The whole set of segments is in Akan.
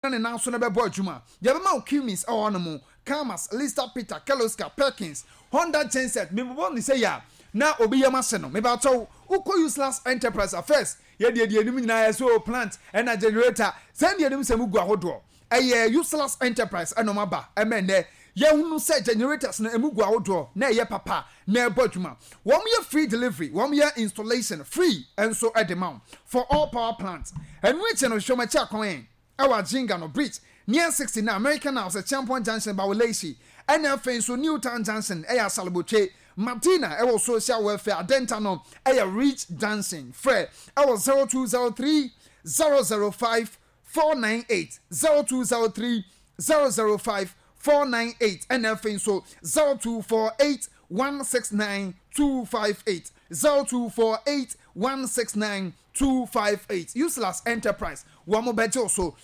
Na ne nan so no bɛbɔ adwuma. Yɛbɛma wo Cummins wɔ hɔnom, Karmas, Lister Peter, Kirloskar, Perkins, Honda genset, mebobɔ no sei a na obi yam ahye no. Mepakyɛw, wokɔ Useless Enterprise a, first, yɛdeɛ deɛ yɛnim nyinaa yɛ sɛ oh plant ɛna generator, sɛn deɛ yɛnim sɛ mugu ahodoɔ. Ɛyɛ Useless Enterprise ɛna wɔn aba ɛma ɛnnɛ yɛhunu sɛ generators no ɛmu gu ahodoɔ na ɛyɛ papa na ɛbɔ adwuma. Wɔn yɛ free delivery, wɔn yɛ installation free nso de ma wo for all power plants. Ɛno akyi no, hwehwɛ wɔn akyi akwan ɛ. Ɛwɔ Adjinga no Bridge near 69 American House, Acheampong Junction, Bawaleshie, ɛna afei nso New Town Junction ɛyɛ Asalobotwe, Madina ɛwɔ Social Welfare, Adenta no ɛyɛ Ridge Junction. Frɛ ɛwɔ 0203 005 498, 0203 005 498, ɛna afei nso 0248 169 258, 0248 169 258. Useless Enterprise, wɔn bɛgye wo so.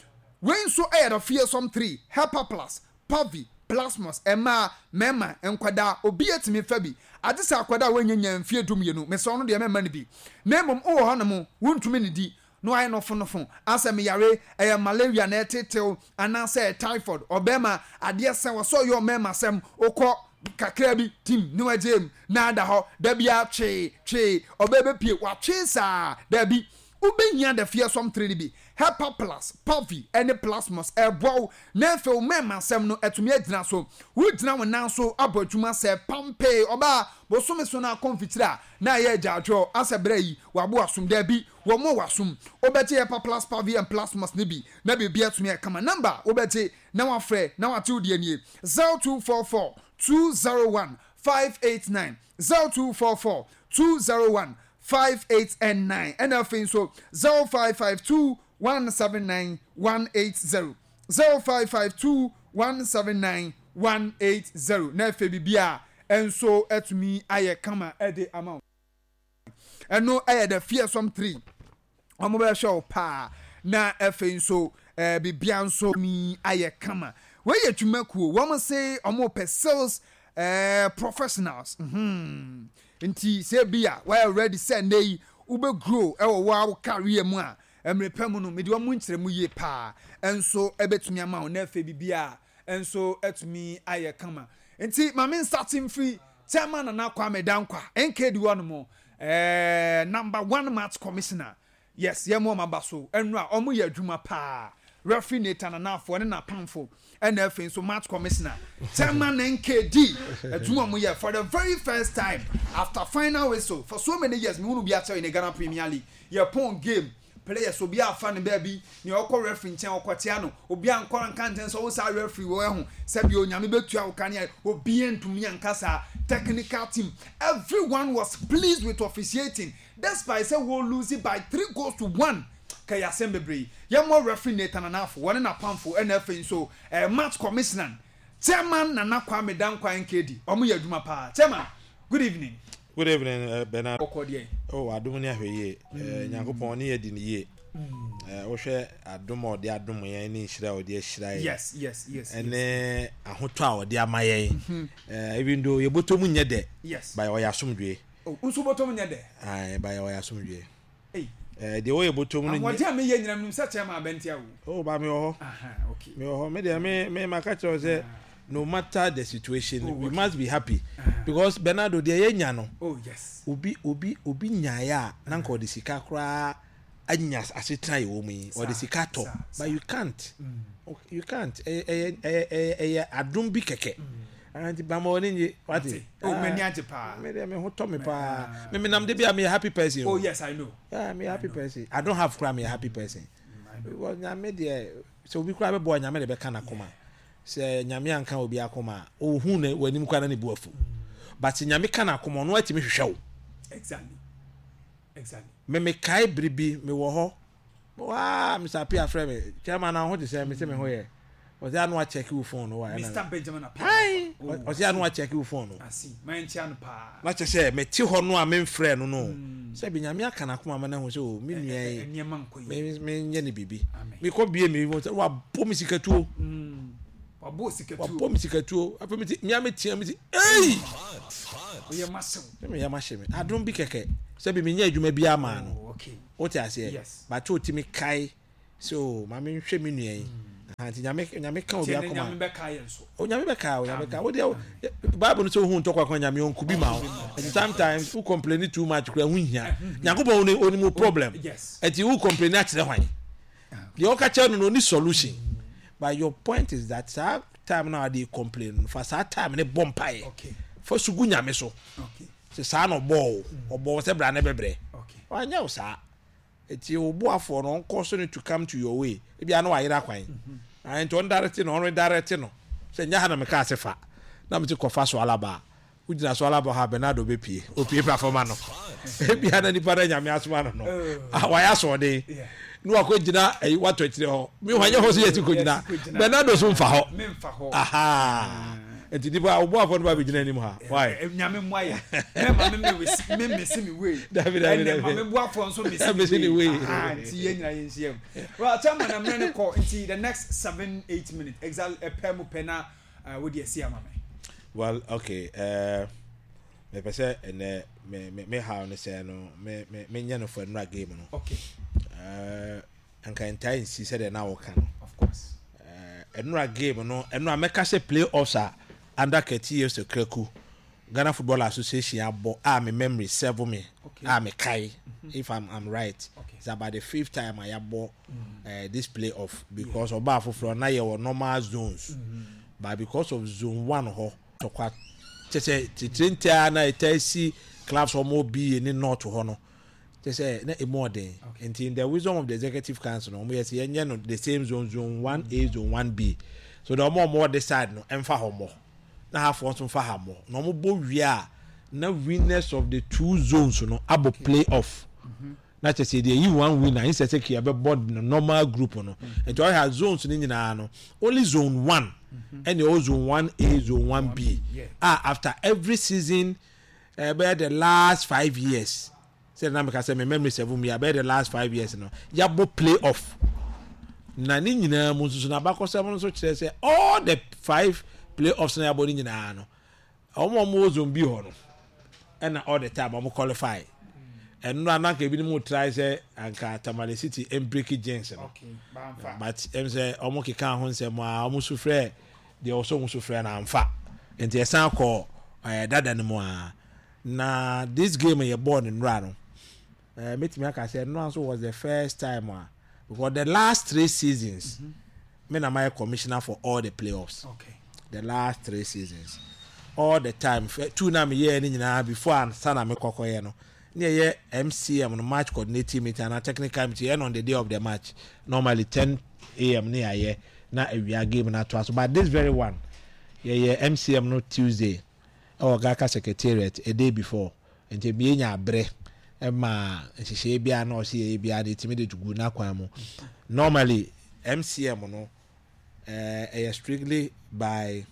Wei nso yɛ the fearsome three, Hepa Plus, Pavi, Plasmos, mmaa, mmarima, nkwadaa, obi atumi fa bi. Agye sɛ akwadaa a wanya nya mfie 12, mesrɛ wo no deɛ mɛmma no bi. Na mmom wowɔ hɔnom, wontumi nnidi, na wayɛ nofonofo, asɛ meyare, ɛyɛ malaria na ɛretetew, anaasɛ ɛyɛ typhoid, ɔbarima, adeɛ sɛ wɔ sɛ ɔyɛ ɔmarima sɛm, wokɔ kakra bi, tim, na wagyae mu, na ada hɔ, da biara twee, twee, ɔbaa bɛpue, watwee saa, dabi, wobɛhia the fearsome three no bi, Hepa Plus, Pavi, ne Plasmos, ɛreboa wo, na afei wo mmarima asɛm no atumi agyina so, wogyina wo nan so abɔ adwuma sɛ pampee, ɔbaa, bosome so no akɔ mfikyire a, na ayɛ agyaadwoɔ, asɛ berɛ yi, wabo asom, dabi, Wɔmmɔ w'asom. Wobɛgye Hepa Plus Pavi and Plasmos no bi na biribi atumi ayɛ kama. Number a wobɛgye na woafrɛ na woate wo deɛ nie, 0244 201 589, 0244 201 589, ɛna afei nso 0552 179 180, 0552 179 180, na afei biribiara nso atumi ayɛ kama de ama wo. Ɛno yɛ the fearsome three. Wɔn bɛhwɛ wo paa na afei nso ɛɛ bibia nso mi ayɛ kama. Wei yɛ dwumakuo. Wɔn se wɔn pɛ sales ɛɛ professionals. Hmm. Nti sɛ bi a wɔyɛ ready sɛ nnɛ yi wobɛ grow ɛwɔ wo career mu a, mmerɛ pɛ mu no mede wɔn nkyerɛ mu yie paa nso ɛbɛtumi ama wo na afei bibia nso atumi ayɛ kama. Nti maame nsate mfiri Chairman Nana Kwame Dankwa NKD hɔ nom, number one match commissioner. Yes, yɛn mu ɔmo aba so ɛnura ɔmo yɛ adwuma paa. Referee Nathan Anafoɔ ne n'apamfo ɛna afei nso match commissioner Chairman NKD adwuma ɔmo yɛ for the very first time after final whistle for so many years. Mehunu bi akyɛw in the Ghana Premier League, yɛ pɔn game, players obi afa ne baabi nea ɔkɔ referee nkyɛn ɔkɔkyea no, obi ankɔ anka nkyɛn sɛ ɔwo saa referee wɔ ɛho sɛbi Onyame bɛtua wo kanea, obi ntumi anka saa. Technical team, everyone was pleased with officiating despite sɛ wɔ lose by 3 goals to 1. Kɛyɛ asɛm bebree. Yɛmmɔ referee Nathan Anafo, wɔne n'apamfo, ɛna afei nso match commissioner Chairman Nana Kwame Dankwa NKD. Ɔmo yɛ adwuma paa. Chairman, good evening. Good evening, Bernard. Ɔkɔ deɛ. Oh, adom ne ahwɛ yie. Nyankopɔn ne yɛ di ne yie. Wohwɛ adom a ɔde adom yɛn ne nhyira a ɔde ahyira yɛn. Ɛne ahotɔ a ɔde ama yɛn. Even though yɛbɔtɔ mu nyɛ dɛ. But ɔyɛ asomdwe. Oh, nso bɔtɔ mu nyɛ dɛ. Aye, but ɔyɛ asomdwe. Hey. Deɛ wɔyɛ bɔtɔ mu no nyɛ. Ahoɔden a meyɛ nyina menim sɛ chairman abɛntia o. Oh, ba me wɔ hɔ. Aha, okay. Me wɔ hɔ. Me deɛ me maka kyerɛ wo sɛ no matter the situation, we must be happy because Bernardo, deɛ yɛnya no. Obi nyaeɛ a na nka ɔde sika koraa anya asetena yɛ wɔ mu yi, ɔde sika tɔ, but you can't, you can't. Ɛyɛ adom bi kɛkɛ nti bama wɔ ne nye wate. Oh, m'ani agye paa. Me deɛ me ho tɔ me paa. Me menam de bi a meyɛ happy person. Oh yes, I know. Yeah, meyɛ happy person. I don't have koraa, meyɛ happy person because Nyame deɛ, sɛ obi koraa bɛbɔ, Nyame de bɛka n'akoma. Sɛ Nyame anka obi akoma a, ohun na w'anim koraa na ne bu afu, but sɛ Nyame ka n'akoma, ɔno atumi hwehwɛ wo. Me mekae bere bi mewɔ hɔ waa, Mr Apia frɛ me, "Chairman, na ho te sɛ?" Me sɛ me ho yɛ. Ɔsɛ ano akyɛke wo phone no wa. Mr Benjamin Apia. Ɔsɛ ano akyɛke wo phone no. Asi mankyia no paa. Na kyɛ sɛ mete hɔ no a memfrɛ no, sɛ bi Nyame aka n'akoma ma no ahu sɛ o me nua yi nneɛma nkɔ yie. Menyɛ ne biribi. Mekɔ bie me sɛ wabɔ me sikatuo. Wabɔ sikatuo. Wabɔ me sikatuo. Afei mete mea metea me si ei. Oyɛ masew. Sɛ meyɛ mahye me adom bi kɛkɛ sɛ bi menyɛ adwuma bi ama no. Oh, okay. Wote aseɛ? Yes. But wotumi kae sɛ o ma menhwɛ me nua yi. Aha, nti Nyame, Nyame ka obi Nti ɛnɛ akoma. Nyame bɛka yɛn so. O Nyame bɛka, o Nyame ka. Wo deɛ, Bible no sɛ ohun ntɔkwa kwan Nyame ɔnku bi ma wo. Nti sometimes wo complain too much kura ho nhia. Nyankopɔn onim onim wo problem. Yes. Nti wo complain akyerɛ hwan? Deɛ ɔka kyerɛ no no ɔni solution. But your point is that saa time na ɔde complain no fa saa time ne bɔ mpaeɛ. Okay. Fa su gu Nyame so. Okay. Sɛ saa na ɔbɔɔ wo. Ɔbɔɔ wo sɛ bra ne bɛbrɛ. Okay. Wanyɛ wo saa. Eti wo boafoɔ no ɔnkɔ so no to come to your way. Ebia na wayera kwan. Ae nti ɔndarete no, ɔnredarete no sɛ nyɛ ha na mekaa se fa. Na mete kɔfa so alaba a, wogyina so alaba hɔ a Bernardo bɛpue. Opue pra fam ano. Ebia na nipa no a Nyame asoma no no, wayɛ asoɔden. Na wakɔgyina ayi watɔ akyire hɔ. Meanwhile nyɛ hɔ so yɛsi kɔgyina. Bernardo so mfa hɔ. Ahaa. Nti nipa wo boafoɔ no ba bɛgyina anim ha. Why? Nyame mmoa yɛ. Mɛma me me me mesi me wei. Dabi dabi Ɛnɛ dabi. ma me boafoɔ nso mesi Mesi ne ne wei. wei. Aha, nti yɛn nyinaa yɛn nhyia mu. Well, chairman na mmerɛ no kɔ nti the next 7 8 minutes exactly ɛpɛ mu pɛ na wode asi ama me. Well, okay. Mepɛ sɛ ɛnɛ me me me haw ne sɛ no me me menyɛ no for nnura game no. Okay. Anka ntaa nsi sɛdeɛ na wɔka no. Of course. Ɛnura game no ɛnura mɛka sɛ play offs a under Kurt Okraku Ghana Football Association abɔ a me memory serve me a me kae if I'm right. Okay. It's about the fifth time a yɛabɔ this play off because ɔbaa foforɔ na yɛwɔ normal zones but because of zone 1 hɔ tɔkwa kyɛ sɛ titire ntia na ɛtaa si clubs wɔn B ne north hɔ no kyɛ sɛ na emu ɔden. Nti in the wisdom of the executive council no wɔn yɛ sɛ yɛnyɛ no the same zone, zone 1A, zone 1B, so that wɔn a wɔwɔ this side no ɛmfa hɔ mmɔ na hafoɔ nso mfa ha mmɔ na wɔn bɔ wie a na winners of the two zones no abɔ play off na kyɛ sɛ deɛ yi one winner instead sɛ kii abɛbɔ no normal group no. Nti ɔyɛ ha zones no nyinaa no only zone 1 ɛna ɛwɔ zone 1A, zone 1B a after every season ɛbɛyɛ the last 5 years sɛ na meka sɛ me memory serve me abɛyɛ the last 5 years no yɛabɔ play off na ne nyinaa mu nso so na abakɔsɛm no nso kyerɛ sɛ all the 5 play offs na yɛabɔ ne nyinaa no wɔn a wɔwɔ zone B hɔ no ɛna all the time wɔn qualify. Ɛno na anka ebinom try sɛ anka Tamale City mbreak jinx no. Okay, bamfa. But ɛm sɛ wɔn keka ho nsɛm a wɔn so frɛ deɛ ɔsɔ wɔn so frɛ na amfa. Nti ɛsan kɔ dada no mu a. Na this game yɛ bɔɔl ne nura no. Metumi aka sɛ nura nso was the first time a because the last 3 seasons me na my commissioner for all the playoffs. Okay. The last 3 seasons. All the time. 2 na me yɛ ni nyinaa before ansa na me kɔkɔ yɛ no. Ne yɛ MCM no match coordinating meeting and technical meeting on the day of the match. Normally 10 a.m. ne yɛ na awia game na to aso. But this very one yɛ MCM no Tuesday. Ɛwɔ GHALCA secretariat a day before. Nti me nya abrɛ ma nhyehyɛ bia na ɔse yɛ bia na etimi de gu na kwan mu. Normally MCM no ɛyɛ strictly by